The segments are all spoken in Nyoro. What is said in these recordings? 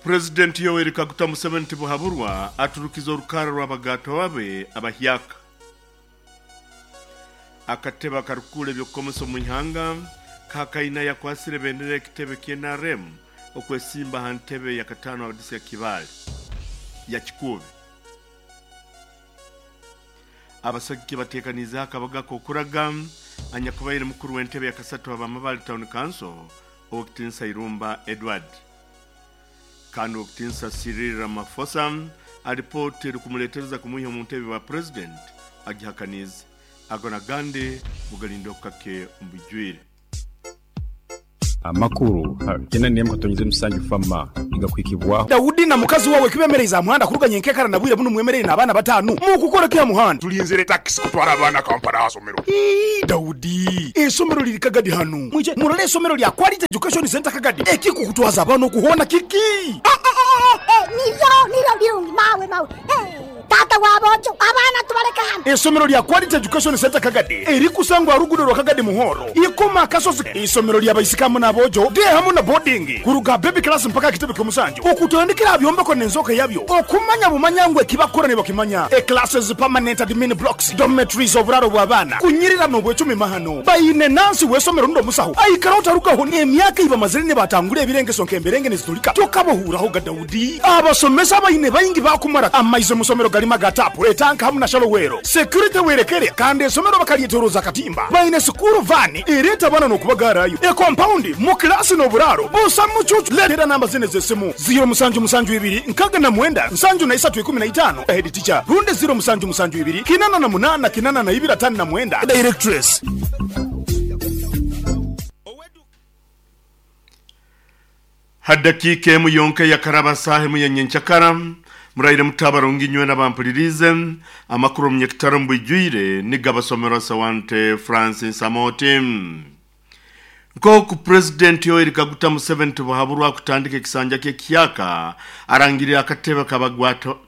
Purezidenti Yoweri Kaguta Museveni Tibuhaburwa aturukize orukaara rw'abagatwa be abahyaka. Akatebe akarikukuura eby'okukomesa omu ihanga Kakaina yakwasire ebendera y'ekitebe ky'NRM okwesimba aha ntebe yakataano RDC ya Kibaale ya Kikuube. Abasagiki bateekaniizeho akabaga k'okuraga anyakubaire mukuru w'entebe yakasatu aba Mabale Town Council Ow'ekitiinisa Irumba Edward. Kandi Ow'ekitiinisa Cyril Ramaphosa alipoota erikumuleetereza kumwiha omu ntebe bwa Purezidenti agihakaniize. Ago n'agandi mugalindeho kake omu bwijwire. Amakuru ha kyenda n'emu katonyeza emusanju FAMA nigakuhikibwaho. Daudi na mukazi wawe kibemereize aha muhanda kuruga nyenkekara na bwire bunu mwemereire n'abaana bataanu. Mukukora ki aha muhanda? Tulinzire takisi kutwara abaana Kampala aha somero. Ii, Daudi, eisomero liri Kagadi hanu. Mwije murole eisomero lya Quality Education Centre Kagadi. Ekikukutwaza abaana okuhoona kiki? Niryo niryo birungi mawe mawe taata wa boojo abaana tubaleke hanu. Eisomero lya Quality Education Centre Kagadi erikusangwa aha ruguudo rwa Kagadi Muhoro, Ikoma Akasozi. Eisomero lya baisiki hamu n'aboojo, day hamu na boarding, kuruga aha baby class mpaka aha kitebe ky'omusanju, okutandikira aha byombeko n'enzooka yabyo, okumanya bumanya ngu ekibakukora nibakimanya, e classes, permanent admin blocks, dormitories, oburaaro bw'abaana, kunyirira n'obwecumi mahano. Baine nansi w'eisomero rundi omusaho aikara otarugaho n'emyaka ei bamazire nibatangura ebirengeso nk'emberenge nizitulika tokabahuurahoga Daudi. Abasomesa abaine baingi baakumara amaizi omu somero garimu aga taapu, etanka hamu na shallow well. Security werekere kandi esomero bakaryetoroza akatimba. Baine sikuuru vaani ereeta abaana n'okubagaarayo, ekompaundi mu kilaasi n'oburaaro busa mucuucu. Leetera namba zinu ez'esimu, ziiro musanju musanju ibiri nkaga na mwenda nsanju na isatu ikumi na itaano, Head teacher, rundi ziiro musanju musanju ibiri kinana na munaana kinana na ibiri atano na mwenda, Directress. Ha dakiika emu yonka eyakaraba saaha emu ya nyenkyakara, muraire muta abarungi inywena abampuliriize, amakuru omu nyekitara omu bwijwire nigabasomerwa Sewante Francis Amooti. Nk'oku Purezidenti Yoweri Kaguta Museveni Tibuhaburwa kutandika ekisanja kye ekihyaka, arangirire akatebe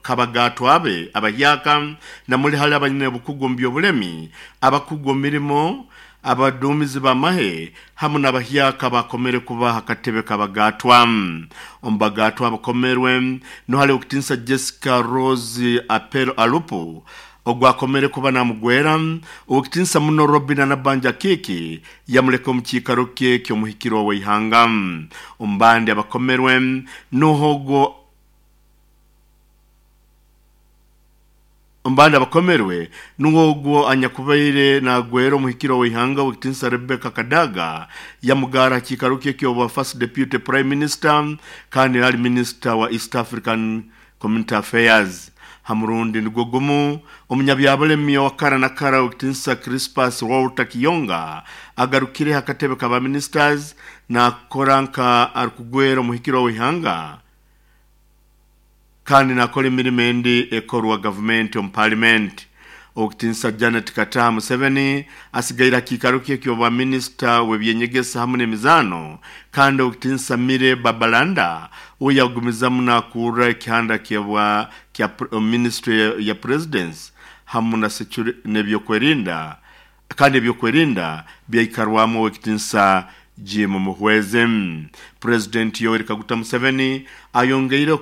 k'abagatwa be abahyaka namuli hali abanyine obukugu omu by'obulemi, abakugu omu mirimo, Abaduumizi b'amahe hamu n'abahyaka baakomere kuba ha katebe k'abagatwa. Omu bagatwa abakomerwe nuho hali Ow'ekitiinisa Jessica Rose Apelo Alupu ogw'akomere kuba namugwera, Ow'ekitiinisa muno Robinah Nabbanja Kiki yamuleka omu kiikaro kye ky'omuhikirwa w'eihanga. Omu bandi abakomerwe nuho ogwo. Omu bandi abakomerwe nuwe ogwo anyakubaire nagwera omuhikirwa w'eihanga Ow'ekitiinisa Rebecca Kadaga yamugaara ha kiikaro kye eky'obwa First Deputy Prime Minister kandi ali Minisita wa East African Community Affairs. Ha murundi nigwo gumu, omunyabyabulemi owa kara na kara Ow'ekitiinisa Crispus Walter Kiyonga agarukire ha katebe ka ba Ministers nakora nka arukugwera omuhikirwa w'eihanga Kandi nakora emirimo endi ekorwa gavumenti omu Palimenti. Owekitiinisa Janet Kataha Museveni asigaire aha kiikaro kye eky'obwa minisita w'ebyenyegesa hamu n'emizaano kandi Owekitiinisa Milly Babalanda uwe yagumizamu nakurra ekihanda ky'obwa kya minisitule ya Purezidensi hamu na n'ebyokwerinda Kandi eby'okwerinda byaikarwamu Ow'ekitiinisa Jim Muhwezi. Purezidenti Yoweri Kaguta Museveni ayongeire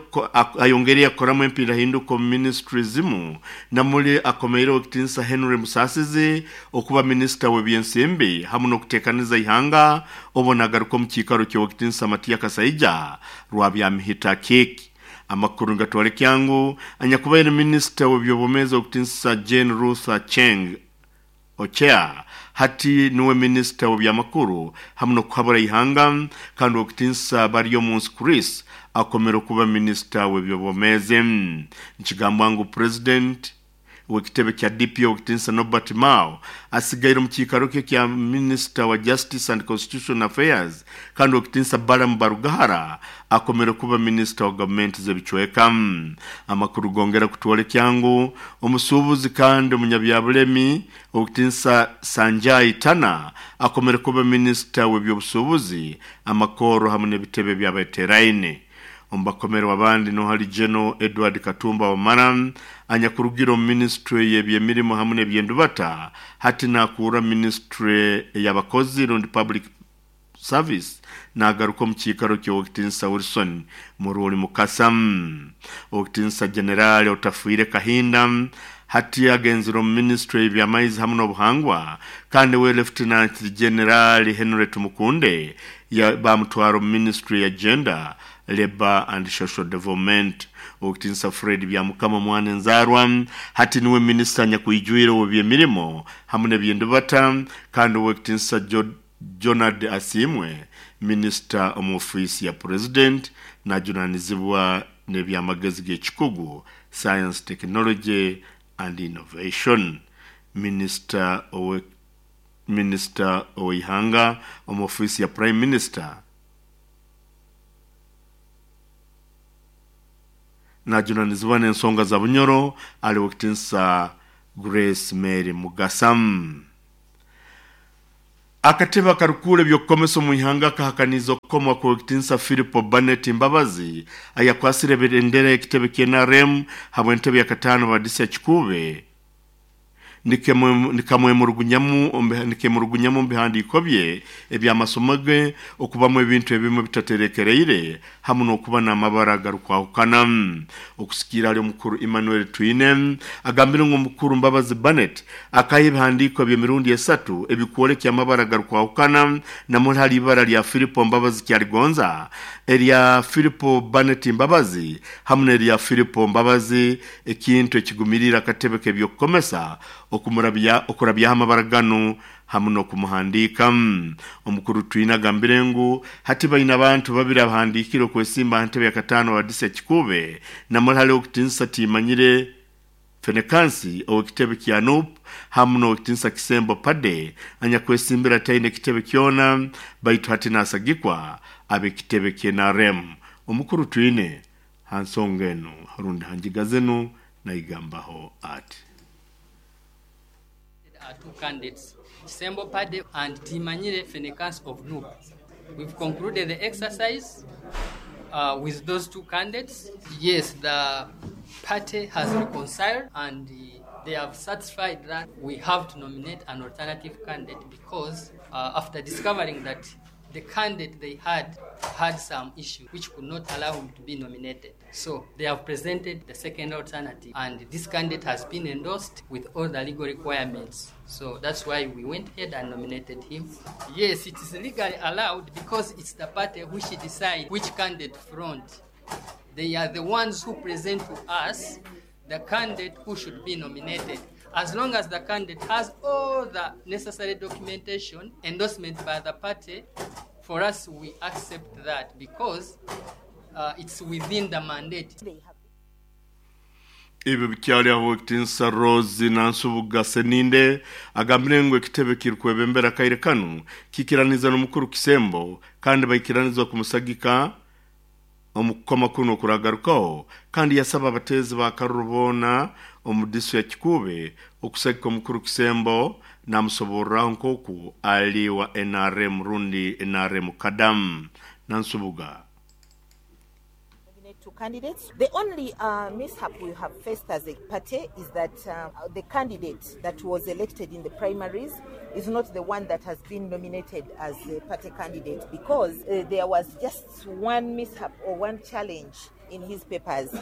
ayongeire yakoramu empindahinduka omu minisitule zimu namuli akomeire Ow'ekitiinisa Henry Musasizi okuba minisita w'ebyensimbi hamu n'okuteekaniza ihanga obwo nagaruka omu kiikaro ky'Ow'ekitiinisa Matia Kasaija Rwabyamihita Kiki. Amakuru nigatwara ekyangu anyakubaire minisita w'eby'obwomeezi Ow'ekitiinisa Jane Ruth Aceng Ochea hati nuwe minisita w'ebyamakuru hamu n'okuhabura ihanga kandi Ow'ekitiinisa Baryomunsi Chris akomere okuba minisita w'eby'obwomeezi. Nikigambwa ngu Purezidenti w'ekitebe kya DP Ow'ekitiinisa Norbert Mao asigaire omu kiikaro kye kya minisita wa Justice and Constitutional Affairs kandi Ow'ekitiinisa Balaam Barugahara akomere kuba minisita wa gavumenti z'ebicweka. Amakuru gongera kutwolekya ngu omusuubuzi kandi omunyabyabulemi Ow'ekitiinisa Sanjay Tanna akomere kuba minisita w'eby'obusuubuzi, amakooro hamu n'ebitebe by'abeteeraine. Omu bakomerwe abandi nuho hali General Edward Katumba Wamala anyakurugire omu minisitule y'eby'emirimo hamu n'eby'endubata hati nakurra minisitule ey'abakozi rundi Public. Service nagaruka omu kiikaro ky'Owekitinisa Wilson Muruli Mukasa. Owekitinisa Generali Otafiire Kahinda hati agenzire omu ministry y'ebyamaizi hamu n'obuhangwa, kandi we Lieutenant General Henry Tumukunde bamutwara omu ministry ya Gender, Labour and Social Development. Owekitinisa Fred Byamukama Mwana Enzarwa hati niwe minisita anyakwijwire ow'ebyemirimo hamu n'ebyendubata, kandi Owekitinisa Jonard Asiimwe minisita omu ofiisi ya President najunanizibwa n'ebyamagezi g'ekikugu, Science, Technology and Innovation. Minisita owe Minisita ow'eihanga omu ofiisi ya Prime Minister najunanizibwa n'ensonga za Bunyoro ali Owekitinisa Grace Mary Mugasa. Akatebe akarukuura eby'okukomesa omu ihanga kahakaniize okukomwa kw'Owekitinisa Philip Barnett Mbabazi ayakwasire ebendera y'ekitebe ky'NRM habw'entebe ya kataano Badisya Kikuube nikamwemurugunyamu omu bihandiiko bye eby'amasomo ge okubamu ebintu ebimu bitaterekereire hamu n'okuba n'amabara agarukwahukana. Okusikiira hali omukuru Emmanuel Twine agambire ngu omukuru Mbabazi Barnett akaha ebihandiiko eby'emirundi esatu ebikwolekya amabara agarukwahukana namuli hali ibara lya Philip Mbabazi Kyaligonza, erya Philip Barnett Mbabazi hamu n'erya Philip Mbabazi, ekintu ekigumiriire akatebe k'ebyokukomesa okurabyaho amabara ganu hamu n'okumuhandiika. Omukuru Twine agambire ngu hati baine abantu babiri abahandiikire okwesimba aha ntebe ya kataano Badisya Kikuube namuli hali Owekitinisa Tiimanyire Fenekansi ow'ekitebe kya NUP hamu n'Owekitinisa Kisembo Pade anyakwesimbire ataine ekitebe kyona baitu hati nasagikwa ab'ekitebe ky'NRM. Omukuru Twine ha nsonga enu rundi ha ngiga zinu naigambaho ati. Are two candidates, Kisembo Pade and Tiimanyire Fenekansi of NUP. We've concluded the exercise with those two candidates. Yes, the party has reconciled and they have satisfied that we have to nominate an alternative candidate because after discovering that the candidate they had had some issue which could not allow him to be nominated. So they have presented the second alternative, and this candidate has been endorsed with all the legal requirements. So that's why we went ahead and nominated him. Yes, it is legally allowed because it's the party which decide which candidate front. They are the ones who present to us the candidate who should be nominated. As long as the candidate has all the necessary documentation, endorsement by the party, for us we accept that because it's within the mandate. Ebyo bikyali aho Owekitinisa Rose Nansubuga Seninde agambire ngu ekitebe kirikwebembera akaire kanu kikiraniza n'omukuru Kisembo kandi baikiraniza okumusagika omu kukoma kunu okuragarukaho, kandi yasaba abateezi ba karuru boona omu disu ya Kikuube okusagika omukuru Kisembo namusoborraho nk'oku ali wa NRM rundi NRM Kadam. Nansubuga. Nominate two candidates. The only mishap we have faced as a party is that the candidate that was elected in the primaries is not the one that has been nominated as a party candidate because there was just one mishap or one challenge in his papers,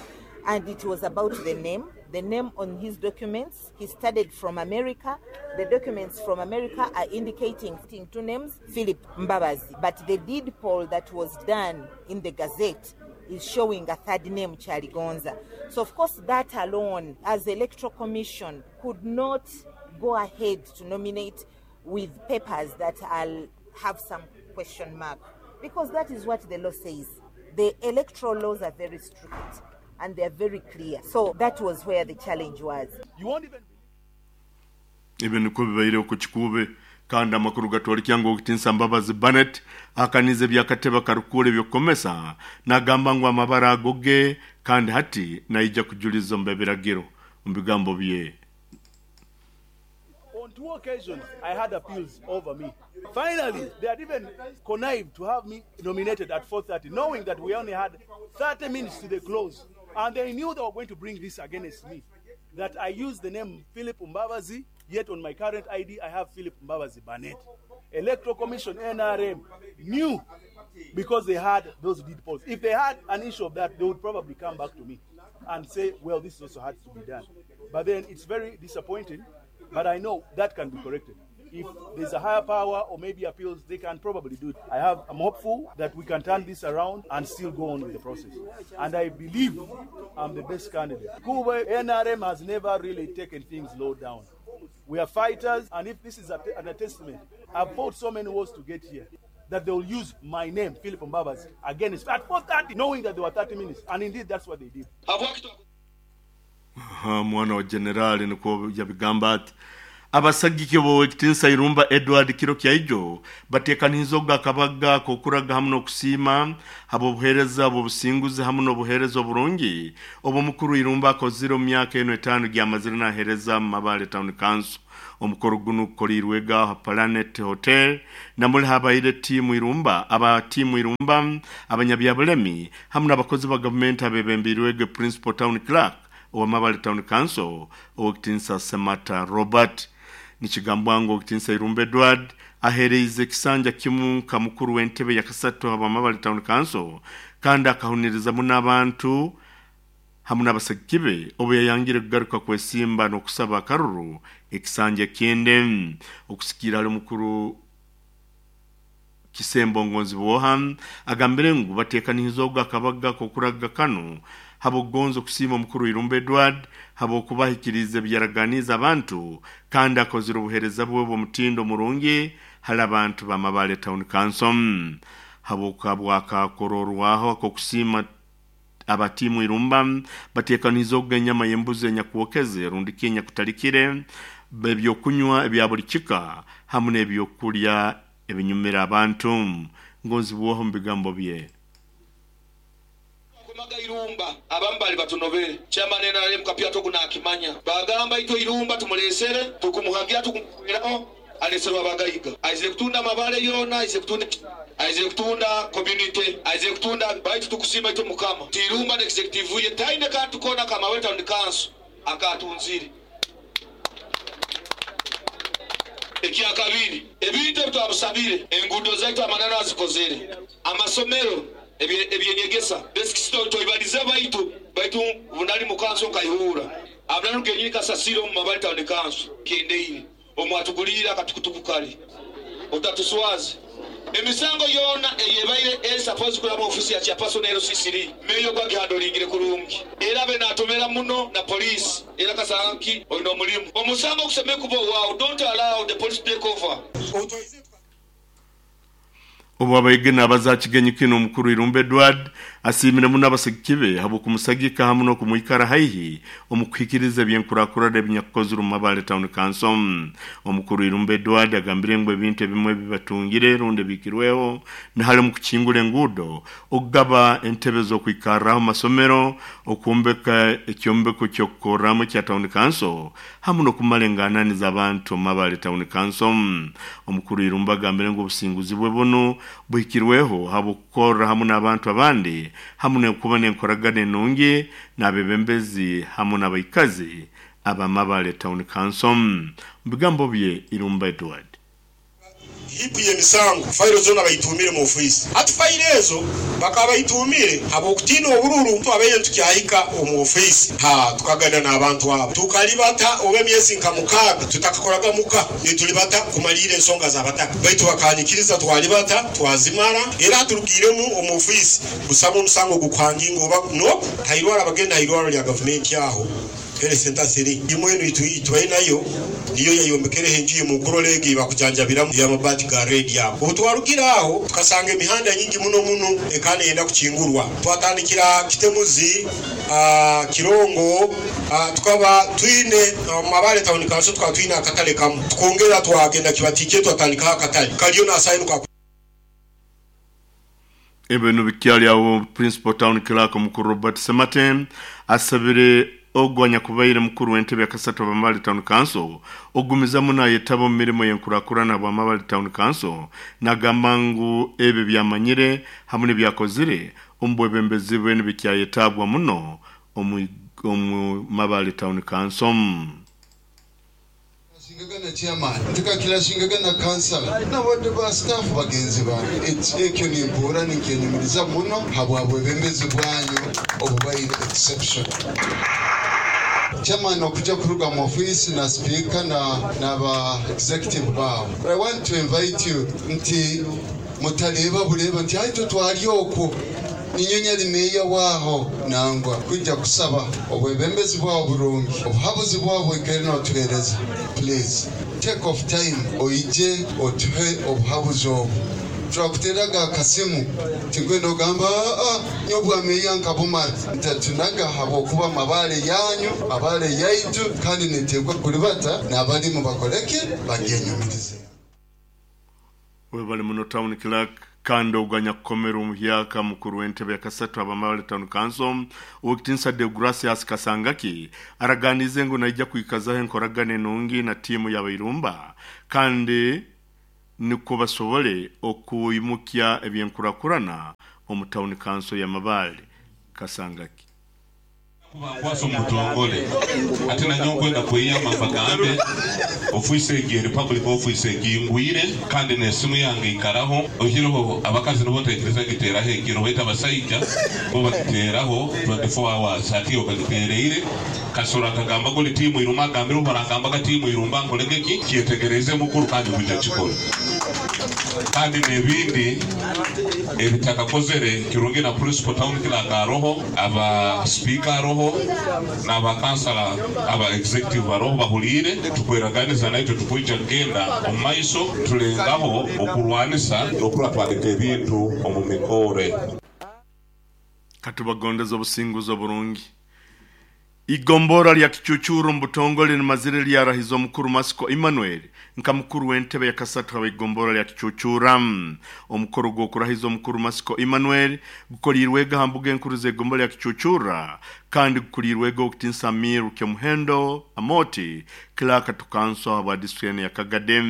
and it was about the name. The name on his documents, he studied from America. The documents from America are indicating two names, Philip Mbabazi. But the deed poll that was done in the Gazette is showing a third name, Kyaligonza. So of course that alone, as the Electoral Commission, could not go ahead to nominate with papers that have some question mark, because that is what the law says. The electoral laws are very strict and they are very clear. So that was where the challenge was. You won't even... Ebyo nikwo bibaire oku Kikuube, kandi amakuru gatwolekya ngu Owekitinisa Mbabazi Barnett ahakaniize eby'akatebe akarukuura eby'okukomesa nagamba ngu amabara ago ge kandi hati naija kujuliza omu b'ebiragiro omu bigambo bye. On two occasions, I had appeals over me. Finally, they had even connived to have me nominated at 4:30, knowing that we only had 30 minutes to the close. And they knew they were going to bring this against me, that I used the name Philip Mbabazi, yet on my current ID, I have Philip Mbabazi Barnett. Electoral Commission, NRM, knew because they had those deed polls. If they had an issue of that, they would probably come back to me and say, well, this also had to be done. But then it's very disappointing, but I know that can be corrected. If there's a higher power or maybe appeals, they can probably do it. I'm hopeful that we can turn this around and still go on with the process. And I believe I'm the best candidate. Kuba NRM has never really taken things low down. We are fighters, and if this is an testament, I've fought so many wars to get here, that they will use my name, Philip Mbabazi, against at 4:30, knowing that there were 30 minutes. And indeed, that's what they did. Mwana wa generali niko yabigamba ati abasagike bo kitinsa Irumba Edward kiro kyaijo batekanizoga akabaga kokuraga hamwe no kusima habo buhereza abo businguzi hamwe no buhereza oburungi obo mukuru Irumba akozire mu myaka eno 5 gyamazire nahereza Mabale Town Council. Omukoro guno kolirwega Planet Hotel namuli habaire timu Irumba aba timu Irumba abanyabyabulemi hamwe n'abakozi ba government abebembirwege Principal Town Clerk owa Mabale Town Council okitinsa Semata Robert. Nichigambwango okitinsa Irumba Edward ahereize kisanja kimu ka mukuru w'entebe ya kasatu aba Mabale Town Council kandi akahuniriza n'abantu hamwe n'abasagikibe obu yayangire kugaruka kwesimba n'okusaba akaruru ekisanja kende. Okusikira ali mukuru Kisembo Ngonzi Bwoha agambire ngu batekanihizoga akabaga kokuraga kano habogonzo kusima mukuru Irumba Edward habo kubahikiriza byaraganiza abantu kandi akozira obuhereza bwe bw'omutindo murungi hali abantu ba Mabale Town Council. Habo kabwaka kororwaho akokusima abatimu Irumba batekanizoga enyama y'embuzi enyakuwokeze rundi kenya kutalikire ebyokunywa ebya buli kika hamwe n'ebyokulya ebinyumira abantu. Ngonzi Bwoha mu bigambo bye. Maga Irumba abambali batunovere chairman NRM kapya tokuna akimanya bagamba ito Irumba tumulesere tukumuhagira tukumwirao aleserwa bagayiga aize kutunda Mabale yona aize kutunda aize kutunda community aize kutunda baitu tukusima ito mukama ti Irumba executive ye taine kantu kona kama weta on council akatunzire ekya kabiri ebintu twabusabire engudo zaitu amanano azikozere amasomero ebyenyegesa basic toibaliza baitu bunali mukanso kayihura abulanu kenyini kasasiro mu Mabale Town Council kendeire omwatugulira katukutuku kali otatuswazi emisango yona eyebaire e suppose kulaba ofisi ya chairperson LCCD meyo gwake handolingire kurungi era be natomera muno na police era kasanki oyino mulimu omusango kuseme kubo wow don't allow the police to take over. Obu abaigena abazakigenyi kino omukuru Irumba Edward asimire muno abasagikibe habo kumusagika hamwe no kumwikara haihi omukuhikiriza ebyenkurakurana ebinyakukozire omu Mabale Town Council. Omukuru Irumba Edward agambire ngu ebintu ebimwe bibatungire rundi bikirweho nahali mu kuchingura enguudo, okugaba entebe z'okwikarraho masomero, okumbeka ekyombeko ky'okukorramu kya Town Council hamwe n'okumara engananiza abantu omu Mabale Town Council. Omukuru Irumba agambire ngu obusinguzi bwe buno buhikirweho habo kukorra hamwe n'abantu abandi hamwe n'okuba n'enkoragana enungi n'abebembezi hamwe n'abaikazi aba Mabale Town Council. Mu bigambo bye Irumba Edward. Hipi emisango failo zona bayitumire mu ofisi ati failo ezo bakaba bayitumire habwokutina obururu twabaye tukyahika omu ofisi ha tukagana n'abantu abo tukalibata oba emyezi nka 6 tutakakoraga muka nitulibata kumalira ensonga z'abataka baitu bakanyikiriza twalibata twazimara era turugiremu omu ofisi busaba omusango gukwanginga oba no hairwara bagenda hairwara lya government yaho ere senta seri imwenu itubaye nayo niyo yayombekere henjiye mu kurolegi bakujanjabira ya mabati ga red yabo obutwarugira aho tukasanga emihanda nyingi muno muno ekane yenda kuchingurwa twatandikira Kitemuzi Kirongo tukaba twine Mabale Town Council tukaba twine akatale kamu tukongera twagenda kibatike twatandika akatale kaliyo na sign kwa ebenu bikyali awo Principal Town Clerk omukuru Robert Sematen asabire ogwanya kubaire mukuru w'entebe ya kasatu aba Mabale Town Council ogumizamu nayetaba mu mirimo y'enkurakurana bwa Mabale Town Council nagamba ngu ebyo byamanyire hamwe n'ebyakozire omu bwebembezi bwe nibikyayetabwa muno omu Mabale Town Council. Na chairman tukakirashingaga na kansala nabandi ba staff bagenzi bange. Ekyo nimpura ninkyenyumiriza muno habwa bwebembezi bwanyu obubaire exception. Chairman okuja kuruga mu office na speaker na naba executive bawo. But I want to invite you nti mutareba bureba nti aitwe twali okwo ninyo nyali meya waho nangwa kwijja kusaba obwebembezi bwawo burungi, obuhabuzi bwawo bwikaire notuhereza. Please take off time oije otuhe obuhabuzi obu. Turakuteraga akasimu tigwenda ogamba nyo bwa meya nkabumara ntatunaga habwokuba mabale yanyu mabale yaitu kandi nitegwa kulibata n'abalimu bakoleke bagenyumirize. Webale muno town clerk. Kandi oganya kukomera omuhyaka mukuru w'entebe ya kasatu abamabale town council Owekitinsa Deogratias Kasangaki araganize ngu naija kwikazaho enkoragana enungi na tiimu y'abairumba kandi nikwo basobole okuimukya ebyenkurakurana omu town council ya Mabale. Kasangaki. Kubankwasa omu butongole ate nanyowe nkwenda kweyama mbagambe ofiisi egi eri public office egingwire kandi n'esimu yange eikaraho oihireho abakazi nibo ntaikiriza giteeraho ekiro baitu abasaija bo bagiteeraho 24 hours hati yo bagiteereire. Kasoro akagamba gole tiimu Irumba agambire obu baragambaga tiimu Irumba nkolege ki kyetegereze mukuru kandi nkwija kukikora kandi n'ebindi ebitakakozere kirungi na principal town clerk aroho aba speaker aroho n'aba kansala aba executive baroho bahuliire tukweraganiza naitwe tukwija kugenda omu maiso tulengaho okurwanisa n'okurora twaleta ebintu omu mikore. Katubagondeze obusinguzi oburungi. Igombora lya Kichuchuru mu butongole limazire lyarahiza omukuru Masiko Emmanuel nka mukuru w'entebe ya kasatu aba igombora lya Kichuchura. Omukoro gw'okurahiza omukuru Masiko Emmanuel gukolirwega ha mbuga enkuru z'egombora lya Kichuchura kandi gukulirwega okutinsa Amiru Kyomuhendo Amoti clerk to council aba district ya Kagade.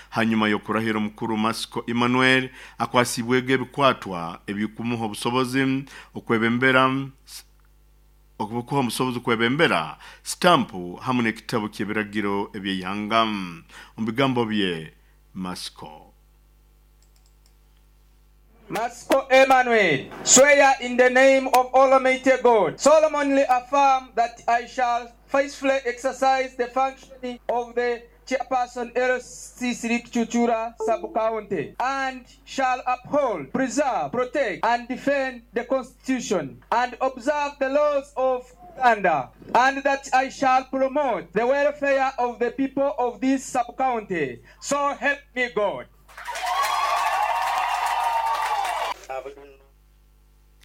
Hanyuma y'okurahira omukuru Masiko Emmanuel akwasibwega ebikwatwa ebikumuha obusobozi okwebembera okubukuha omusobozi kwebembera stampu hamu n'ekitabo ky'ebiragiro eby'eihanga. Omu bigambo bye Masiko. Masiko Emmanuel, swear in the name of Almighty God, solemnly affirm that I shall faithfully exercise the function of the chairperson LC3 Kichuchura sub-county and shall uphold, preserve, protect and defend the Constitution and observe the laws of Uganda, and that I shall promote the welfare of the people of this sub-county. So help me God.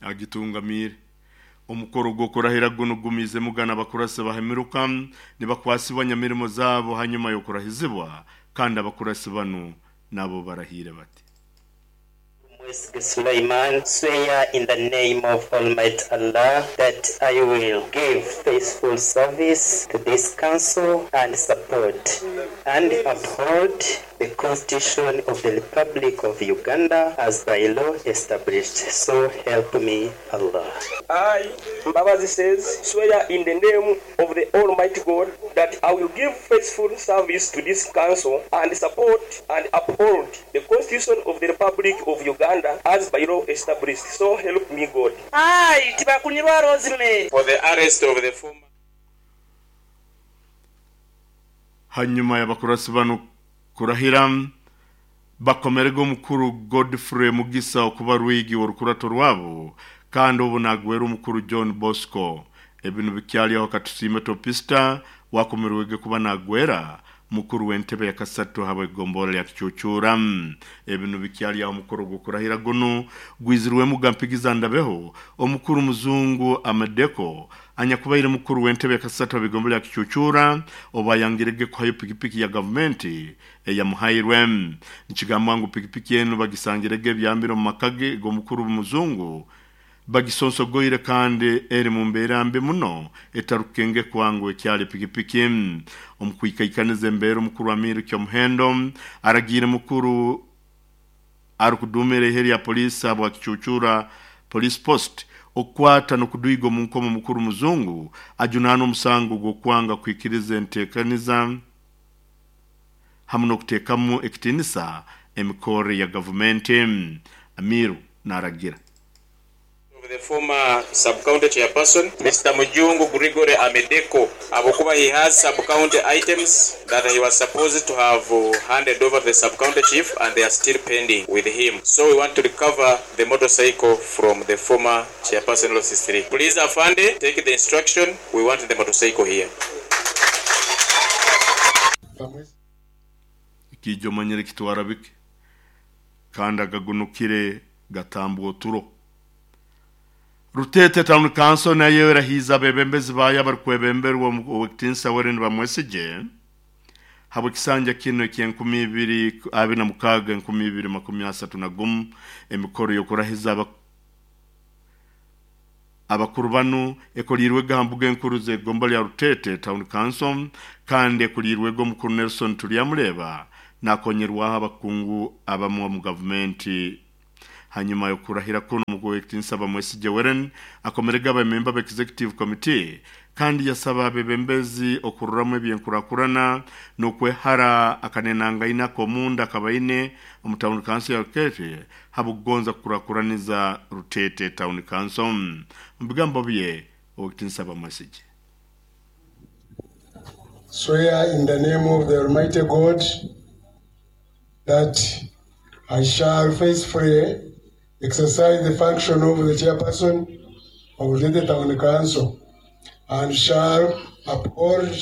Agitungamire omukoro gw'okurahira guno gumize mugana abakurasi bahemiruka nibakwasibwa nyamirimo zabo hanyuma y'okurahizibwa kandi abakurasi banu nabo barahire bati. Mwesige Sulaiman, swear in the name of Almighty Allah that I will give faithful service to this council and support and uphold the Constitution of the Republic of Uganda as by law established. So help me Allah. I, Mbabazi says, swear in the name of the Almighty God that I will give faithful service to this council and support and uphold the Constitution of the Republic of Uganda as by law established. So help me God. I, Tibakunyirwa Rosemary. For the arrest of the former. Hanyuma y'abakurasi bano kurahira bakomerega omukuru Godfrey Mugisa okuba rwigi orukurato rwabo kandi obu nagwera omukuru John Bosco. Ebintu bikyali aho katusime topista wakomerwege kuba nagwera mukuru w'entebe ya kasatu habwe gombora lya Kichuchura. Ebintu bikyali aho mukuru gw'okurahira guno gwizirwemu gampigiza ndabeho omukuru muzungu Amadeko anyakubaire mukuru w'entebe ya kasatu habwe gombora lya Kichuchura obayangirege kuhayo pikipiki ya gavumenti eyamuhairwe. Nikigambwa ngu pikipiki enu bagisangirege ebyambiro mu makage g'omukuru muzungu bagisonsogoire kandi eri mu mbeera mbi muno etarukenge kwangu ekyali pikipiki. Omukwikaikaniza embeera omukuru Amiru Kyomuhendo aragiire mukuru arukudumira iheri ya polisi abwa Kichuchura police post okwata n'okudwiga omu nkomo mukuru muzungu ajunaana omusango gw'okwanga kwikiriza enteekaniza hamu n'okuteekamu ekitiinisa emikorre ya gavumenti. Amiru naragira. Of the former sub-county chairperson, Mister Mujungu Gregory Amedeko habwokuba he has sub-county items that he was supposed to have handed over to the sub-county chief and they are still pending with him. So we want to recover the motorcycle from the former chairperson LC3. Please Afande, take the instruction, we want the motorcycle here. Ekiija omanyire kitwara bike, kandi agagunukire gatambwa oturo. Rutete Town Council nayo erahiize abebembezi baayo abarikwebemberwa Owekitinisa Warren Bamwesigye habw'ekisanja kinu eky'enkumi ibiri abiri na mukaaga enkumi ibiri makumi asatu na gumu. Emikoro y'okurahiza abakuru banu ekoliirwege ha mbuga enkuru z'egomba lya Rutete Town Council, kandi ekoliirwege omukuru Nelson Turyamureeba nakonyerwaho abakungu abamu omu gavumenti. Hanyuma y'okurahira kuno, omukuru w'ekitinisa Bamwesigye Warren akomerege abamemba ba executive committee kandi yasaba abebembezi okururamu ebyenkurakurana n'okwehara akanenangaine ak'omunda akabaine omu town council ya Rutete habw'okugonza kukurakuraniza Rutete Town Council. Omu bigambo bye, Owekitinisa Bamwesigye. Swear in the name of the Almighty God that I shall faithfully exercise the function of the chairperson of Rutete Town Council and shall uphold,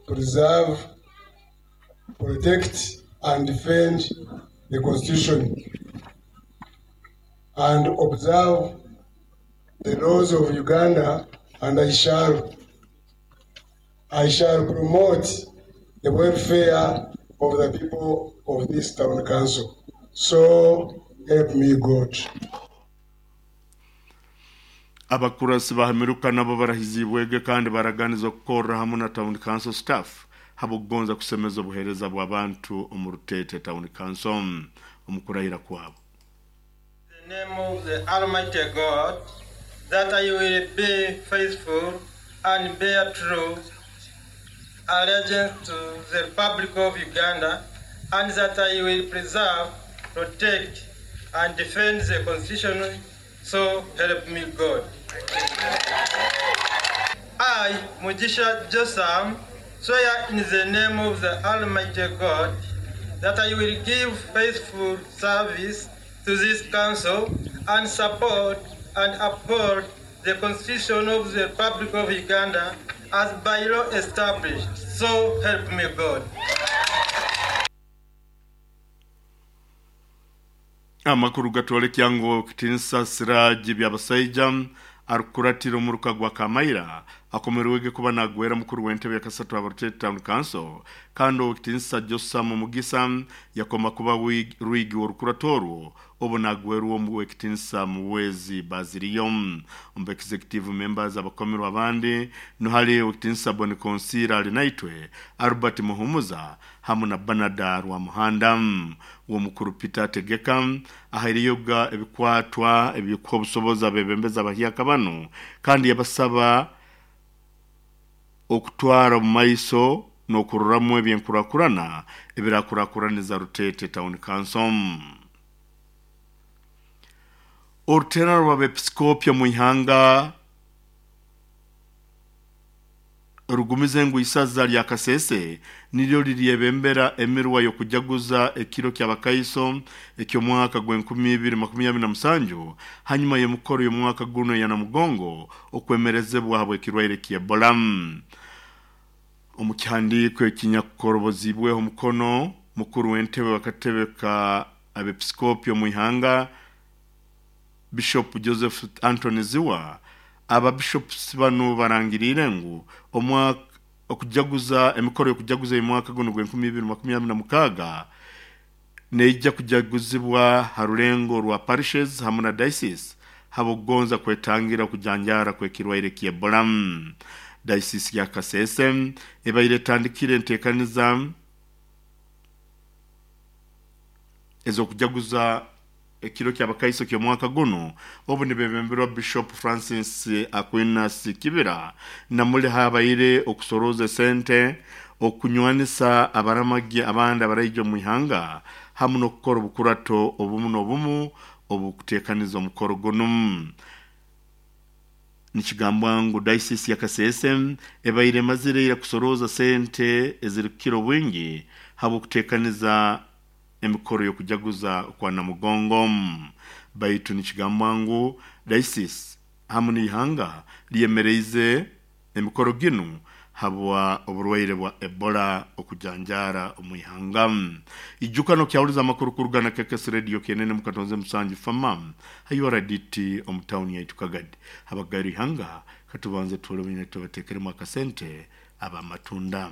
preserve, protect, and defend the Constitution and observe the laws of Uganda, and I shall promote the welfare of the people of this town council. So help me God. Abakurasi bahamiruka nabo barahizibwege kandi baraganiza kukorra hamu na town council staff habw'okugonza kusemeza obuheereza bw'abantu omu Rutete Town Council omu kurahira kwabo. In the name of the Almighty God, that I will be faithful and bear true allegiance to the Republic of Uganda, and that I will preserve, protect, and defend the Constitution, so help me God. I, Mugisha Josam, swear in the name of the Almighty God that I will give faithful service to this council and support and uphold the Constitution of the Republic of Uganda as by law established. So help me God. Amakuru gatwale kyango kitinsa Siraji Byabasaija arukuratira omuruka gwa Kamaira akomerwege kuba nagwera mukuru w'entebe ya kasatu aba Rutete Town Council, kandi owekitinisa Josam Mugisa yakoma kuba rwigi w'orukurato obu nagwerwa omuwekitinisa Muwezi Baziriyo. Omu executive members abakomerwa abandi nohali owekitinisa Boni Konsira Alinaitwe, Albert Muhumuza hamu na Bernard Rwamuhanda. Uwo mukuru Peter Tegeka ahaireyoga ebikwatwa eby'okuha obusobozi abebembezi abahyaka banu, kandi yabasaba okutwara omu maiso n'okururamu ebyenkurakurana ebiraakurakuraniza Rutete Town Council. Oruteerano rw'abepiskopi omu ihanga rugumize ngu isaza lya Kasese niryo liryebembera emirwa y'okujaguza ekiro ky'abakaiso eky'omwaka gw'enkumi ibiri makumyabiri na musanju hanyuma y'emikoro y'omwaka guno ya Namugongo okwemerezebwa habw'ekirwaire ky'Ebola. Omu kihandiiko ekinyakukorobozibweho omukono mukuru w'entebe w'akatebe ka abepiskopi omu ihanga, Bishop Joseph Anthony Ziwa, aba bishops banu barangiriire ngu omwaka okujaguza emikoro y'okujaguza emwaka guno gw'enkumi ibiri makumyabiri na mukaaga neija kujaguzibwa ha rulengo rwa parishes hamu na diocese habw'okugonza kwetangira okujanjaara kw'ekirwaire ky'Ebola. Diocese ya Kasese ebaire etandikire enteekaniza ez'okujaguza ekiro ky'abakaiso ky'omwaka guno obu nibebemberwa Bishop Francis Aquinas Kibira, namuli habaire okusoroza esente okunywanisa abaramagi abandi abaraija omu ihanga hamu n'okukora obukurato obumu n'obumu obukuteekaniza omukoro gunu. Nikigambwa ngu Dayisisi ya Kasese ebaire emazire ira kusorooza sente ezirikukira obwingi habw'okuteekaniza emikoro y'okujaguza okwa Namugongo. Baitu nikigambwa ngu Dayisisi hamu n'ihanga lyemereize emikoro ginu habwa oburwaire bwa Ebola okujanjaara omu ihanga. Ijuka nokyahuliza amakuru kuruga na KKS Radio Kenene Mukatonze Musanju Fama ha URDT omu tawuni yaitu Kagadi. Abagairu ihanga katubanze tuhole bunyina tubatekeremu akasente ab'amatunda.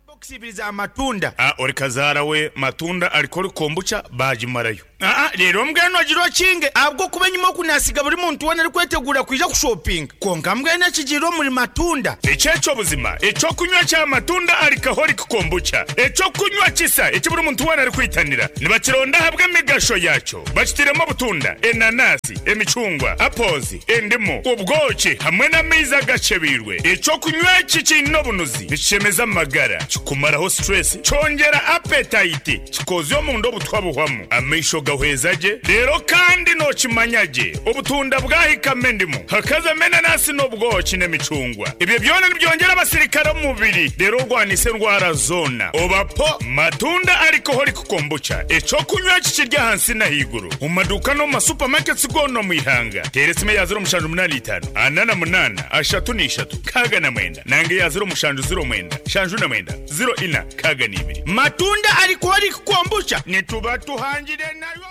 Ebokisi ibiri za matunda. A Ori kazaara we matunda alcoholic kombucha baagimarayo. Aa Reero mbwenu ogire okinge ahabw'okuba enyima oku naasiga buri muntu weena arikweteguura kwija kushopinga. Kwonka mbwenu ekigiire omuri matunda. Eki eky'obuzima, eky'okunywa kya matunda alcoholic kombucha, eky'okunywa kisa eki buri muntu weena arikwitanira. Nibakironda ahabw'emigasho yaakyo. Bakitairemu obutunda, enanasi, emicungwa, apples, endimu, obwoki hamwe n'amaizi agakyebeirwe. Eky'okunywa eki kiine obunuzi, nikishemeza amagara, kikumaraho stress, kyongyera appetite, kikoozya omunda obutwa buhwamu, amaisho gahweza gye, reero kandi nookimanya gye obutunda bwahikamu endimu, hakazamu enanasi n'obwoki n'emicungwa. Ebyo byona nibyongyera abasirikare omu mubiri reero orwanise endwara zoona. Oba po matunda alcoholic kombucha, eky'okunywa eki kiri ahansi n'ahaiguru omu maduuka n'omu ma supermarkets goona omu ihanga. Teera esimu eya 0785 48 33 69 nanga eya 0709 79 04 62. Matunda alcoholic kombucha nituba tuhangire nayo.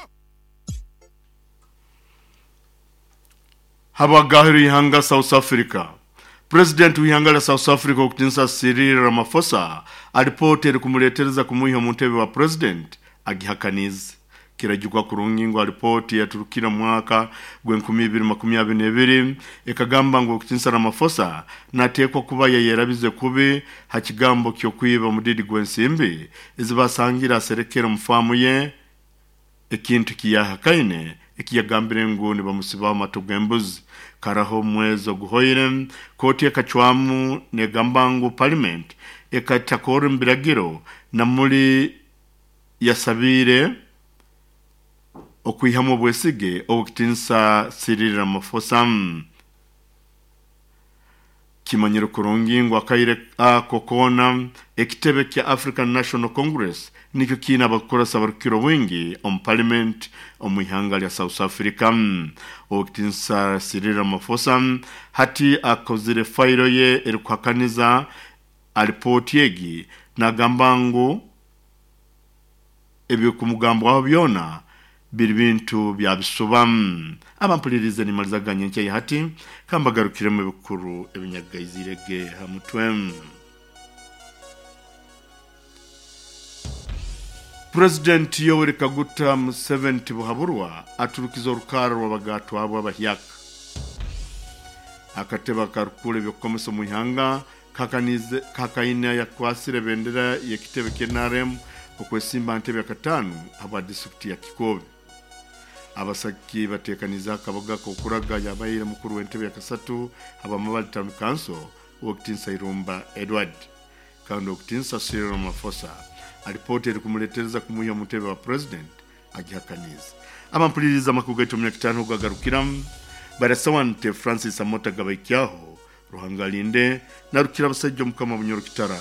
Habwagaahirwe ihanga South Africa. Purezidenti w'ihanga lya South Africa Okutinsa Cyril Ramaphosa alipoota erikumuleetereza kumwiha omu ntebe wa purezidenti agihakaniize. Kirajukwa kurungi ngu alipoota eyaturukire omu mwaka gw'enkumi ibiri makumi abiri n'ebiri ekagamba ngu Okutinsa Ramaphosa nateekwa kuba yayerabize kubi ha kigambo ky'okwiba omudidi gw'ensimbi ezibasangire aserekere omu faamu ye ekintu ekiyahakaine ekiyagambire ngu nibamusibaho amatu g'embuzi. Karaho omu mwezi oguhoire, kooti ekacwamu negamba ngu palimenti ekatakorra omu biragiro namuli yasabiire okwihamu obwesige Owekitinisa Cyril Ramaphosa. Kimanyire kurungi ngu akaire ako koona, ekitebe kya African National Congress nikyo kiine abakukurasi abarukukira obwingi omu Palimenti omu ihanga lya South Africa. Owekitinisa Cyril Ramaphosa hati akozire fairo ye erikuhakaniza alipooti egi nagamba ngu Ebirikumugambwaho byona biri bintu bya bisuba. Abampuliriize nimaliza ganye nkya ya hati, ka mbagarukiremu ebikuru ebinyagaiziire ge ha mutwe. Purezidenti Yoweri Kaguta Museveni Tibuhaburwa aturukize orukaara rw'abagatwa abo abahyaka. Akatebe akarukukura eby'okukomesa omu ihanga Kahakaniize Kahakaine ayakwasire ebendera y'ekitebe ky'NRM okwesimba aha ntebe yakataano ahabwa disiturikiti ya Kikoobi. Abasagiki bateekaniize akaboga k'okuraga yabaire mukuru w'entebe yakasatu habwa Mabale Town Council, Owekitinsa Irumba Edward. Kandi Owekitinsa Cyril Ramaphosa alipoota erikumuletereza kumwiha omu ntebe wa Purezidenti agihakaniize. Abampuliriize amakuru gaitu omu Nyakitaano ogugagarukira, Barasawante Francis Amota Gabaikyaho, Ruhanga alinde narukira abasaija omukama Bunyoro Kitara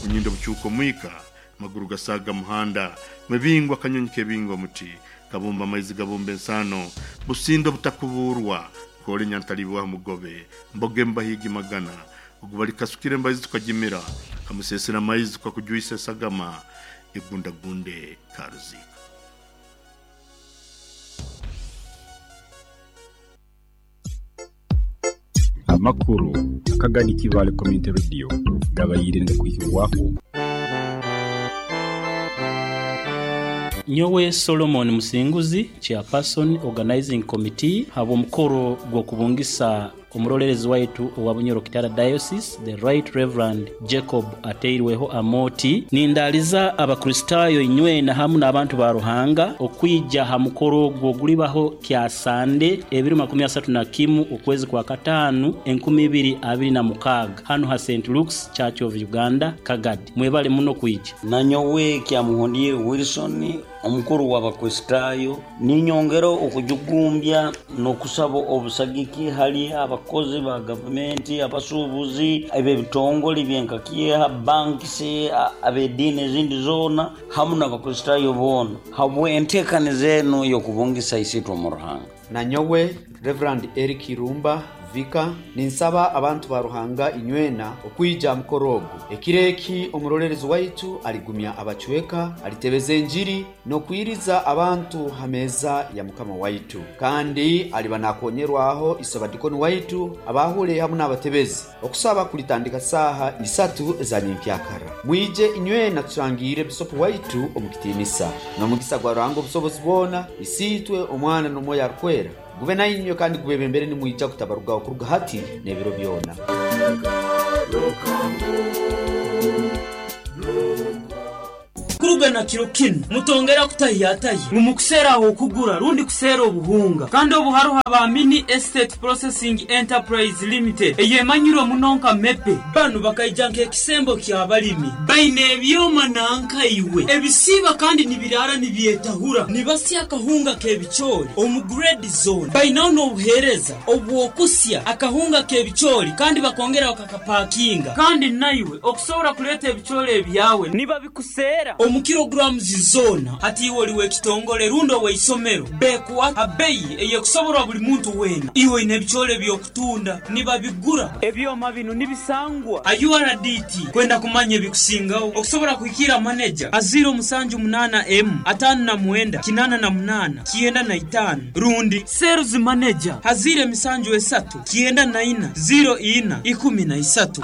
Bunyindo bucuuka omwika Maguru gasaaga muhanda Mwebingwa kanyonyi kebinga omuti Kabumba amaizi gabumba ensaano Busindo butakubuurwa Nkoore nyantalibwaho mugobe Mboga embahiigi magana Ogu balikasukira embaizi tukagimira Kamuseesera amaizi tukakujwisa esagama Egundagunde karuziika. Amakuru akagani Kibaale Community Radio gabaire nigakwihibwaho. Nyowe Solomon Musinguzi, Chairperson Organizing Committee habw'omukoro gw'okubungisa. Omurolerezi waitu owa Bunyoro Kitara Diocese, the Right Reverend Jacob Ateirweho Amoti. Nindaaliza Abakristaayo inywena hamu n'abantu ba Ruhanga okwija ha mukoro ogwo ogulibaho Kyasande ebiro 31 okwezi kwa kataanu 2026 hanu ha St. Luke's Church of Uganda, Kagadi. Mwebale muno kwija. Nanyowe Kyamuhundire Wilson, omukuru w'Abakristaayo, ninyongera okujugumbya n'okusaba obusagiki hali abakozi ba gavumenti, abasuubuzi, ab'ebitongole byenkakyeha, banks, ab'ediini ezindi zoona hamu n'Abakristaayo boona habw'enteekaniza enu ey'okubungisa Isiitwe omu Ruhanga. Nanyowe Rev. Eric Irumba, Vicar, ninsaba abantu ba Ruhanga inywena okwija aha mukoro ogu. Ekiro eki omurolerezi waitu aligumya abacweka, alitebeza enjiri n'okwiriza abantu ha meeza ya Mukama waitu. Kandi aliba nakonyerwaho Isabadikoni waitu, abaahule hamu n'abatebezi. Okusaba kulitandika saaha isatu eza nyenkyakara. Mwije inywena turangiire Bisopu waitu omu kitiinisa. N'omugisa gwa Ruhanga obusobozi bwona, Isiitwe, Omwana n'Omwoyo Arukwera, gube nainywe kandi gubebembere nimwija kutabarugaho kuruga hati n'ebiro byona. Kuruga na kiro kinu mutongera kutahiyatahya ngu mukuseera ah'okugura rundi kuseera obuhunga. Kandi obu haroho aba Mini Estate Processing Enterprise Limited eyemanyirwe muno nka MEPE. Banu bakaija nk'ekisembo ky'abalimi. Baine ebyoma nanka iwe ebisiiba kandi nibiraara nibyetahura. Nibasya akahunga k'ebicoori omu grade zoona. Bainaho n'obuheereza obw'okusya akahunga k'ebicoori kandi bakongera bakakapakinga. Kandi naiwe okusobora kuleeta ebicoori ebyawe nibabikuseera omu kilograms zoona. Hati iwe oli w'ekitongole rundi ow'eisomero, bekuha ha beyi ey'ekusoborwa buli muntu weena. Iwe oine ebicoori eby'okutunda, nibabigura. Ebyoma binu nibisangwa ha URDT. Kwenda kumanya ebikusingaho, okusobora kuhikiira maneja ha 078 emu 59 88 95 rundi Sales Manager ha 073 94 04 13.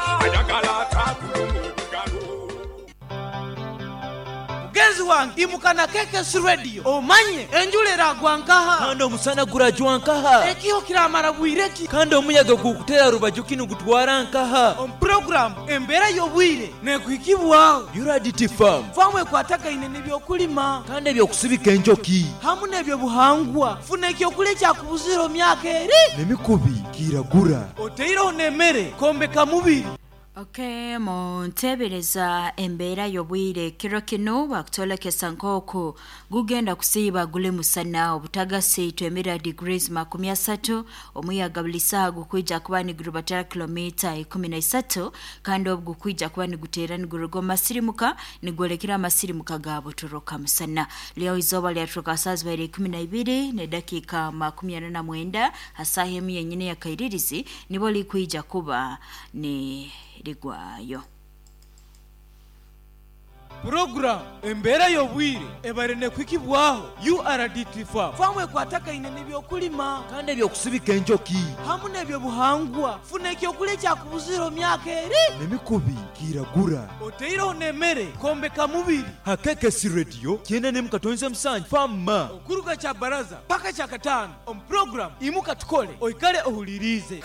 Mugenzi wange imuka na KKS Radio omanye enjura eragwa nkaha? Kandi omusana gurajwa nkaha? Ekiho kiramara bwire ki? Kandi omuyaga gukutera rubaju ki nigutwara nkaha? Omu puroguramu Embeera y'Obwire nekuhikibwaho. URDT Farm. Faamu ekwatagaine n'ebyokulima. Kandi eby'okusibika enjoki. Hamu n'ebyobuhangwa. Funa ekyokulya ekyakubuzire omu myaka eri. N'emikubi kiiragura. Oteireho n'emere kwombeka mubiri. Ok, munteebereza embeera y'obwire kiro kinu bakutwolekesa nk'oku gugenda kusiiba guli musana obutagasi twemera degrees 30, omuyaga buli saaha gukwija kuba nigurubatira kilomita 13, kandi obu gukwija kuba niguteera niguruga omu masirimuka nigwolekera amasirimuka ga Butoroka musana. Leo izooba lyatoroka saaha zibaire 12 n'edakiika 49 ha saaha emu yenyini ey'akairirizi nibwo likwija kuba ni rigwayo. Puroguramu Embeera y'Obwire ebaire nekuhikibwaho URDT Farm. Faamu ekwatagaine n'ebyokulima. Kandi eby'okusibika enjoki. Hamu n'ebyobuhangwa. Funa ekyokulya ekyakubuzire omu myaka eri. N'emikubi kiiragura. Oteireho n'emere kwombeka mubiri. Ha KKC Radio 97.7 Farm Ma. Okuruga Kyabaraza paka Kyakataano omu puroguramu Imuka Tukole oikale ohuliriize.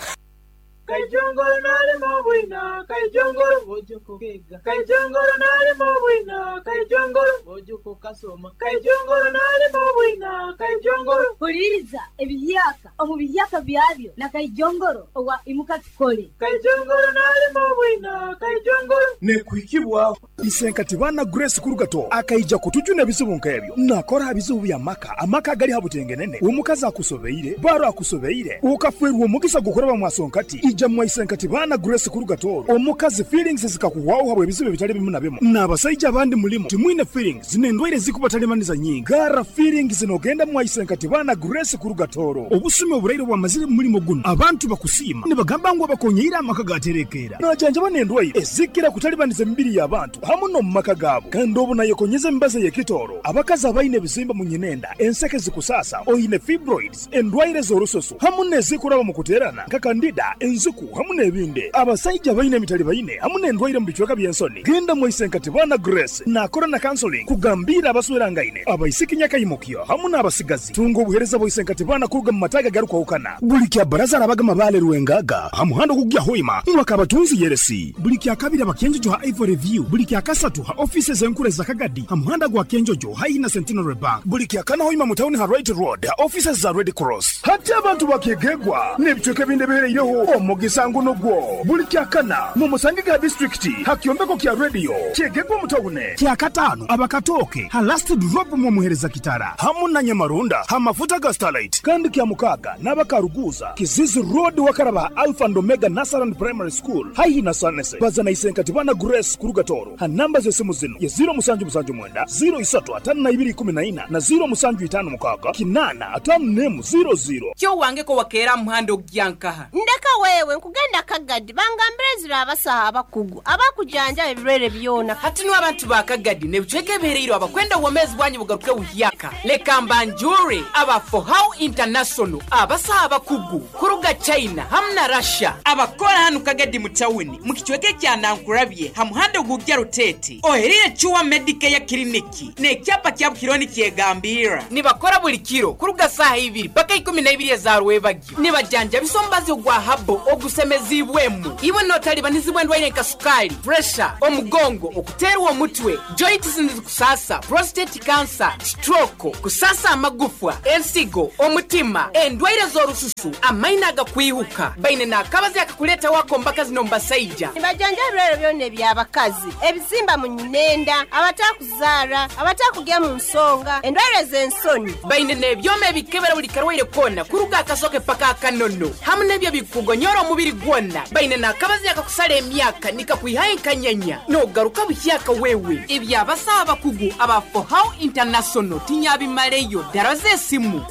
Kaijongoro nalima obwina, Kaijongoro Bojoko kega. Kaijongoro nalima obwina, Kaijongoro Bojoko kasoma. Kaijongoro nalima obwina, Kaijongoro. Huliriza ebihyaka omu bihyaka byabyo na Kaijongoro owa Imuka Tukole. Kaijongoro nalima obwina, Kaijongoro. Nekuhikibwaho Isenkati baana Grace Kurugato akaija kutujuna ebizibu nk'ebyo. Nakora aha bizibu by'amaka, amaka agali ha butengenene, omukazi akusobeire, baro akusobeire, okafeerwa omugisa gw'okuraba mwasonkati, ija mwa Isenkati baana Grace Kurugato, omukazi feelings zikakuhwaho habw'ebizibu ebitali bimu na bimu. N'abasaija abandi mulimu timwine feelings n'endwaire ezikubatalibaniza nyingi. Garra feelings n'ogenda mwa Isenkati baana Grace Kurugatoro. Obusumi oburaire obwamazire omu mulimo gunu, abantu bakusiima nibagamba ngu abakonyeire amaka gaaterekeera. Najanjaba n'endwaire ezikira kutalibaniza emibiri y'abantu hamu n'omu maka gaabo. Kandi obu nayekonyeza emibazi ey'ekitooro, abakazi abaine ebizimba mu nyinenda, enseke zikusaasa, oine fibroids, endwaire z'orususu hamu n'ezikuraba omu kuteerana nka kandida, enziku. enziku hamu n'ebindi. Abasaija abaine emitalibaine hamu n'endwaire mu bicweka by'ensoni, genda mwa Isenkatibana Grace naakora na counseling kugambiira abaswerangaine, abaisiki nyakaimukyo hamu n'abasigazi. Tunga obuheereza bwa Isenkatibana kuruga mu mataagi agarukwahukana. Buli kya baraza arabaga Mabale Rwengaga ha muhanda ogukugya Hoima mwaka abatunzi Yeresi. Buli kya kabiri abakenjojo ha Ivory View. Buli kya kasatu ha office ezenkuru eza Kagadi ha muhanda gwa Kenjojo haihi na Centenary Bank. Buli kya kana Hoima mu town ha Right Road ha offices za Red Cross. Hati abantu bakyegegwa n'ebicweka ebindi ebihereireho omugisa ngu nugwo. Buli kya kana mumusange ha disitulikiti ha kyombeko kya radio kyegegwa mu tawuni. Kya kataano abakatooke ha last drop mwomuhereza kitara hamu na Nyamarunda ha mafuta ga Starlight. Kandi kya mukaaga n'abakaruguuza Kizizi Road wakaraba ha Alpha and Omega Nursery Primary School haihi na Sanese. Baza na Isenkatibana Grace kuruga Toro ha namba z'esimu zino ye 0779 035214 na 0756 851 00. Kyo wangeko wakeera muhanda ogyankaha. Ndeka wewe nkugenda Kagadi bangambire zira abasaha abakugu abakujanja ebirwere byona. Hati niwe abantu ba Kagadi nebicweka ebihereire abakwenda obwomezi bwanyu bugaruke buhyaka. Leka mbanjure aba For How International abasaha abakugu kuruga China hamu na Russia abakora hanu Kagadi mu tawuni mu kicweka kya Nankurabye ha muhanda ogujya Rutete oherire Chuwa Medicare Clinic n'ekyapa kya Bukironi kyegambira nibakora buli kiro kuruga saha ibiri paka 12 eza rwebagyo nibajanja bisombazi ogwa habo ogusemezibwemu iwe notalibanizibwa endwaire nka sukali, pressure, omugongo, okuterwa omutwe, joints nizikusasa, prostate cancer, stroke, kusasa amagufwa, ensigo, omutima, endwaire z'orususu, amaino agakwihuka. Baine n'akabazi akakuleta wako mbaka zino mbasaija. Nibajanja ebirwere byona eby'abakazi, ebizimba mu nyinenda, abatakuzaara, abatakugya mu nsonga, endwaire z'ensoni. Baine n'ebyoma ebikebera buli karwaire kona kuruga akasoke paka akanono hamu n'ebyo bikugonyora omubiri gwona. Baine n'akabazi akakusala emyaka nikakwihayo enkanyanya n'ogaruka buhyaka wewe. Ebyabasaha abakugu aba For How International tinyabimaleyo. Dara z'esimu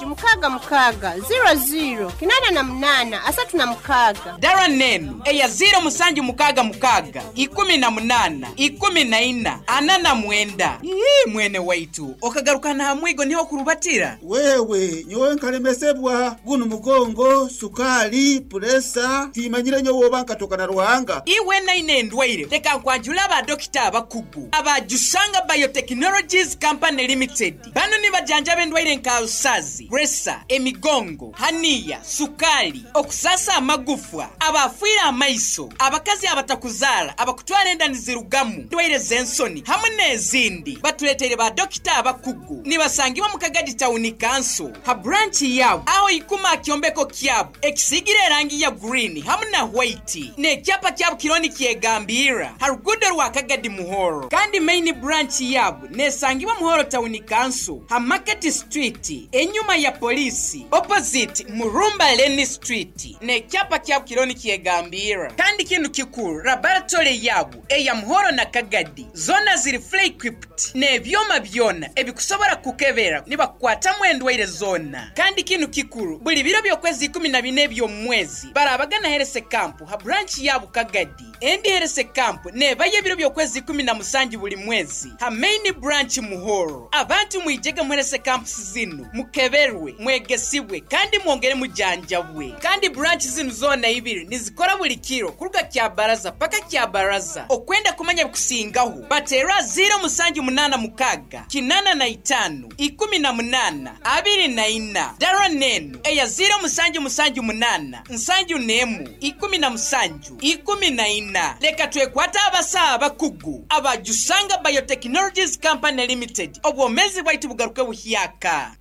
0766 00 88 36. Dara nenu eya 0766 18 14 49. Ii mwene waitu okagaruka na hamwigo niho kurubatira. Wewe nyowe nkalemesebwa guno mugongo, sukali, puresa, timanyire nyowe oba nkatoka na Ruhanga. Iwe naine endwaire leka nkwanjula aba dokita abakugu aba Jusanga Biotechnologies Company Limited. Bano nibajanja b'endwaire nka alusazi, puresa, emigongo, haniya, sukali, okusasa amagufwa, abafiire amaiso, abakazi abatakuzaara, abakutwara enda nizirugamu, endwaire z'ensoni hamwe n'ezindi. Batuleteire ba dokita abakugu nibasangibwa mu Kagadi Town Council ha branch yabo aho ikuma kyombeko kyabo ekisigire erangi ya green hamwe na white n'ekyapa kyabo kironi kyegambira ha rugudo rwa Kagadi Muhoro. Kandi main branch yabo nesangibwa Muhoro Town Council ha Market Street enyuma ya polisi opposite Murumba Lane Street n'ekyapa kyabo kironi kyegambira. Kandi kintu kikuru laboratory yabo eya Muhoro na Kagadi zona ziri fully equipped n'ebyoma byona ebikusobora kukebera nibakukwatamu endwaire zona. Kandi kinu kikuru buli biro by'okwezi 14 by'omwezi barabagana herese kampu ha branch yabo Kagadi. Endi herese kampu nebaye ebiro by'okwezi 17 buli mwezi ha main branch Muhoro. Abantu mwijege muherese kampu zinu mukeberwe, mwegesibwe kandi mwongere mujanjabwe. Kandi branch zinu zona ibiri nizikora buli kiro kuruga kya baraza paka kya baraza. Okwenda kumanya kusingaho batera 0786 85 18 24. Dara nenu eya 0778 71 17 14. Leka twekwata abasaha abakugu aba Jusanga Biotechnologies Company Limited. Obwomezi bwaitu bugaruke buhyaka.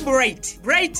Bright, Bright,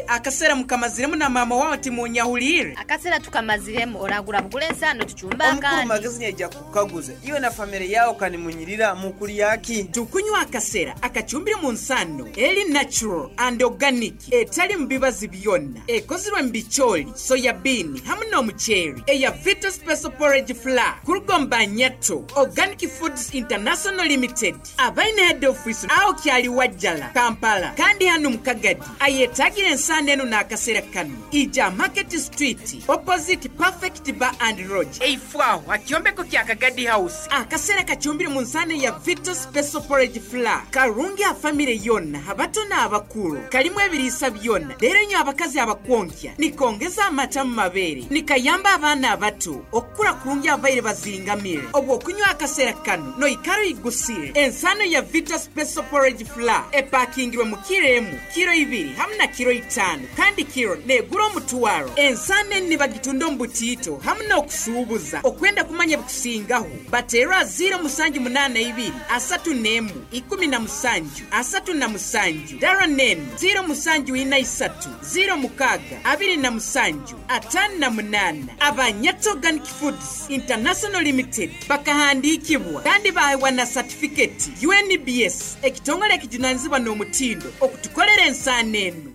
akasera mukamaziremu na mama wawe timunyahulire. Akasera tukamaziremu oragura bugule ensano tuchumba Omukuru kandi. Magezi yaija kukaguza. Iwe na familia yao kanimunyirira mukuri yaki. Tukunywa akasera akachumbire mu nsano eri natural and organic etali mbibazi byonna ekozirwe mu bicholi, soya bean hamwe n'omuceeri eya Vita Special Porridge Flour kurugomba Nyato Organic Foods International Limited abaine head office aho kyali Wajjala Kampala. Kandi Kandi hano mukagadi ayetagira ensaano eno n'akaseera kano ija Market Street opposite Perfect Bar and Lodge eifwaho akyombeko kya Kagadi House. Akaseera kacumbire mu nsaano ya Vito Special Porridge Flour karungi a family yonna, abato n'abakulu, kalimu ebiriisa byonna. Leero enyo abakazi abakwonkya nikongeza amata mu mabeere, nikayamba abaana abato okukula kurungi abaire bazingamire. Obwokunywa akaseera kano noikara oigusire. Ensaano ya Vito Special Porridge Flour epakingirwe mu kiro emu, kiro 2 hamu na kiro 5, kandi kiro negura omutwaro. Ensaano eni nibagitunda omu butiito hamu n'okusuubuza. Okwenda kumanya bikusingaho bateerwa 0782 31 17 37 Dara nenu 0743 06 27 58. Abanyato Organic Foods International Limited bakahandikibwa kandi baheebwa na satifiketi UNBS ekitongole ekijunanizibwa n'omutindo okutukolera ensaano eno.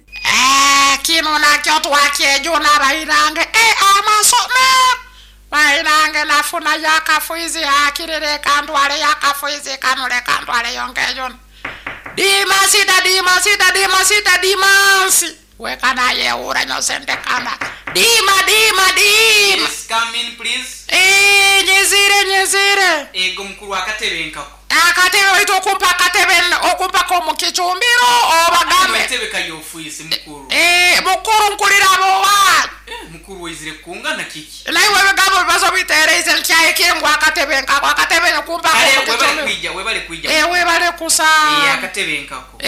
Kino nakyo twakyejuna bainange amasomero bainange nafuna yakafuizi akirire kantwale yakafuizi kanule kantwale yongejuna dimasita dimasita dimasita dimansi wekana yeura nyosendekana dima dima dima. Yes, come in please. Nyezire nyezire. Ego mukuru akatebe nkako. Akatebe oito okumpa akatebe okumpako mu kicumbiro obagambe. Akatebe kayofuisi mukuru. Mukuru nkulira bowa. Mukuru waizire kungana kiki? Naye wewe bibazo bitereize nkyayikire ngo akatebe nkako akatebe okumpa ko mu kicumbiro. Webale kuija. Webale kusa. Akatebe nkako.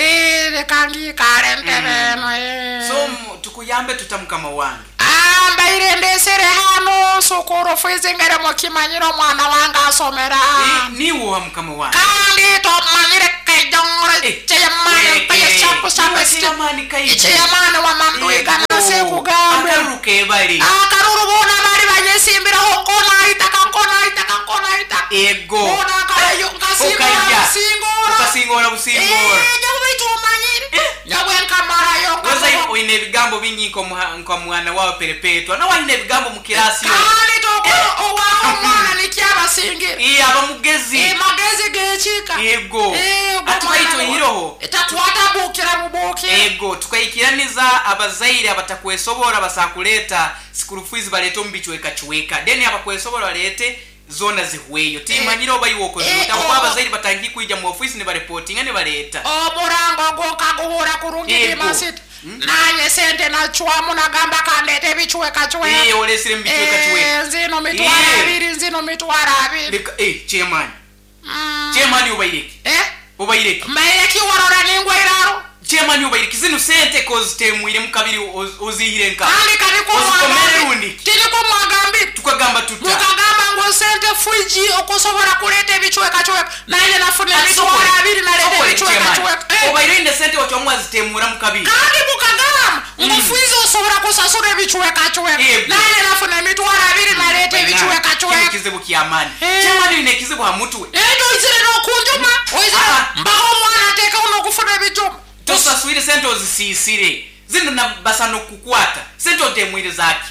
Leka ngikale ntebe eno. So tukuyambe tutamukama wange. Mbaire ndesere hano sukuru fuizi ngere mukimanyiro omwana wange asomera. Niwo wa mukama wange. Kandi tomanyire kejongore cheyamani peye shapu shapu cheyamani wa mamduiga nase kugambe. Akaruru kebali. Akaruru bona bari banyesimbiraho nkona itaka nkona itaka nkona itaka. Ego. Bona karayo nkasimbira busingora. Ukasingora busingora. Nyawe tumanyire. Nyawe nkamarayo nkamarayo. Oine ebigambo bingi nko mwana wawe perepetwa na waine ebigambo mu kirasi. Kandi toko owa omwana nikyabasingira. Abamugezi. Magezi gechika. Yego. Atukaito hiroho. Etakwata bukira bubuki. Yego, tukayikiraniza abazaire abatakwesobora basakuleta school fees baleta omubichweka chweka. Deni abakwesobora balete zona zihweyo. Timanyira oba iwoko zuta kwa abazaire batangi kuija mu office ne bareportinga ne baleta. Omurango gonka guhura kurungi dimasita. Nanye sente nachwamu nagamba kandete bichweka chweka. Olesire mbichweka chweka. Nzino mitwara abiri nzino mitwara abiri. Chairman. Chairman ubaireki. Ubaireki. Mbaireki warora ningwa iraro. Chairman ubaireki zino sente cause temwire mukabiri ozihire nka. Kandi kabiko ozikomere Tiriko mwagambi. Tukagamba tuta. Mukagamba ngo sente fuji okusobola kuleta ebichweka chweka. Naye nafuna mitwara abiri naleta ebichweka chweka. Obaire ine sente wachomwa zitemura mukabiri. Kandi mukagamba ngo fuizi osobola kusasura ebichweka chweka. Naye nafuna mitwara abiri naleta ebichweka chweka. Kizibu kiamani. Chairman ine kizibu hamutwe. Ejo izire no kunjuma. Oizire mbaho mwana ateka uno kufuna ebijuma. Tosaswire sente ozisisire. Zino na basano kukwata. Sente otemwire zaki.